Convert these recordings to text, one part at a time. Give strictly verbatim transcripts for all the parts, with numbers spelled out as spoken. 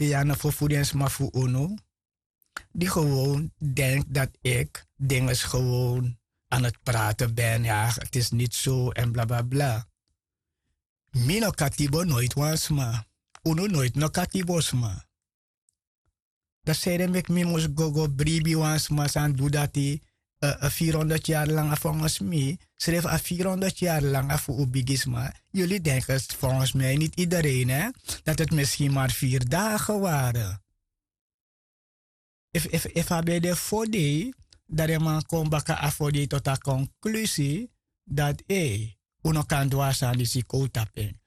Te yu a no ferfuru den sma fu unu di gewoon denkt dat ik dinges gewoon aan het praten ben. Ja, het is niet zo en bla bla bla. Mi no katibo noit wan sma. Unu noit no katibo sma. Dan sede meki mi mus go go bribi wan sma san du dati. Vierhonderd yari langa fongens mi srefi a vierhonderd yari langa fu un bigisma. Yuli denken fongens mi niti idereen, dat het misschien maar vier dagen ware. Efu a ben de fodei, dan den man kon baka a fodei tot a konklusi dati un no kan du a sani disi kon un tapu en.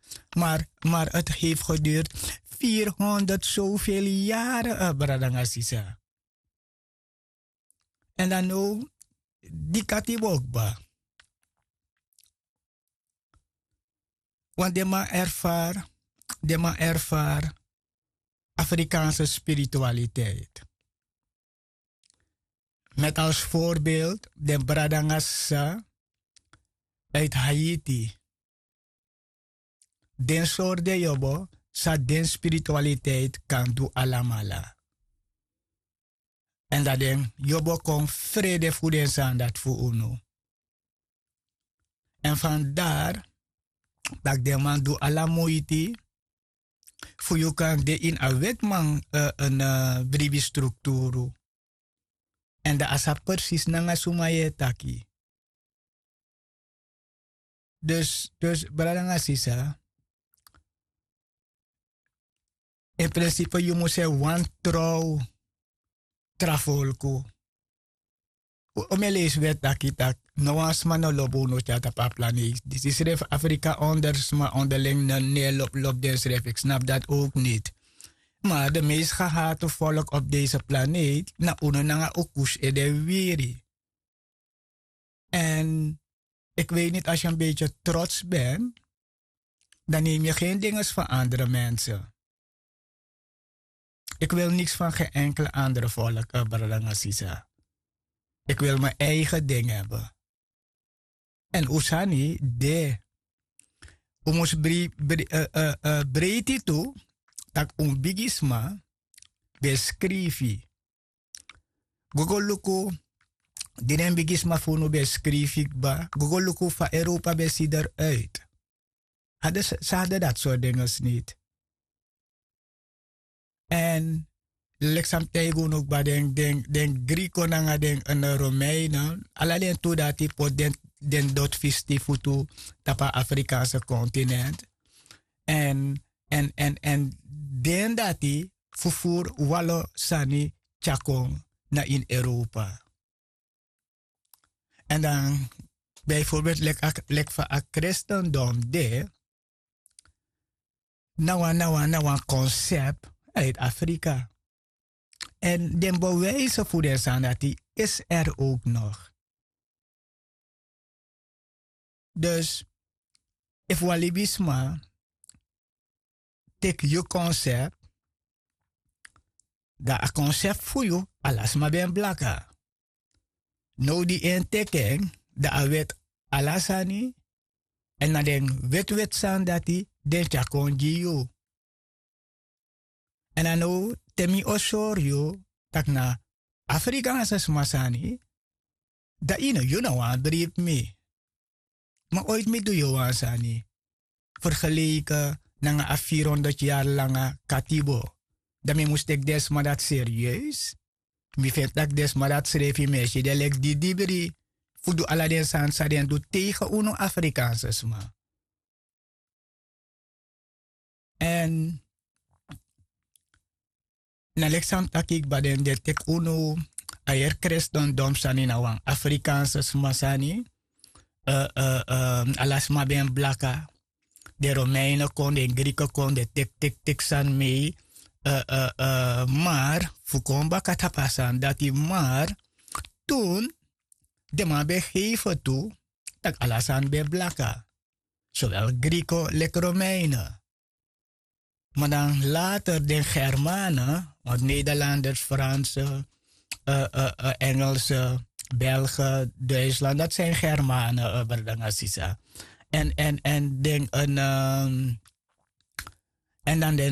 Maar het heeft geduurd vierhonderd zoveel yaren, brada nanga sisa. Èn dan now di katibo kba. Want den man erfari den man erfari afrikaanse spiritualiteit. Met als voorbeeld den brada nanga sisa uit haiti. Den sori den yobo san den spiritualiteit kan du alamala. Èn dan den yobo kon frede fu den sani dati fu unu. Èn fandari tak' den man du ala muiti fu yu kan de ini a wetiman bribi strukturu. Èn dan a sa presis nanga suma yu e taki. Dus brada nanga sisa, in prinsipe yu mus e wani trow tra folku. Un mi e leisi weti taki tak' no wan sma no lobi unu tyari tapu a planeet disi srefi afrika onder sma onderling no no e lobi lobi densrefi eki snapu dati owk niti. Ma de meisi gehate folku opu desi planeet na unu nanga un kusi ede wiwiri. Èn eki wei niti asi en beitye trots ben, dan nemi yu gen dinges fan andre mense. Eki wil niks fan gen enkele andre folku brada nanga sisa. Eki wil mi eigen ding heben. Èn un sani de un mus breiti tu tak' un bigisma ben skrifi. Go go luku di den bigisma fu unu ben skrifi kba go go luku fa europa ben si der uit. Hadden ze hadden dat soort dingen niet. Èn leki san mi taigi unu kba den griko nanga den romeinen ala den tu dati poti den doti fisti futu tapu a afrikaanse kontinent. Èn èn èn èn den dati fufuru walo sani tyari kon na ini europa. Èn dan bijvorbelt leki fa a kristendom de na wan na wan na wan konsept uit afrika. Èn den bewijse fu den sani dati is er owk nog. Dus efu wan libisma teki yu konsept dan a konsept fu yu ala sma ben blaka. Now di en teki en dan a weti ala sani èn na den wetiweti sani dati den tyari kon gi yu. Èn a now te mi o sori yu tak' na afrikaanse sma sani dan yu no wani bribi mi. Ma oiti mi du yu wan sani fergeleike nanga a vierhonderd yari langa katibo. Dan mi mus teki den sma dati serieus. Mi feni tak' den sma dati srefi mi e si den leki didibri fu du ala den sani san den du tegen unu afrikaanse sma. Èn na leki san mi taki kba den de teki unu a heri kristendom sani na wan afrikaanse sma sani. Ala sma ben blaka. Den romeinen kon den griko kon den teki teki teki sani mei. Mar fu kon baka tapu a sani dati mar tun den man ben heife tu tak' ala sani ben blaka. Sowel griko leki romeinen. Ma dan later den germanen want nederlanders franse engelse belgen duitsland dati sin germanen brada nanga sisa. Èn èn èn den èn dan den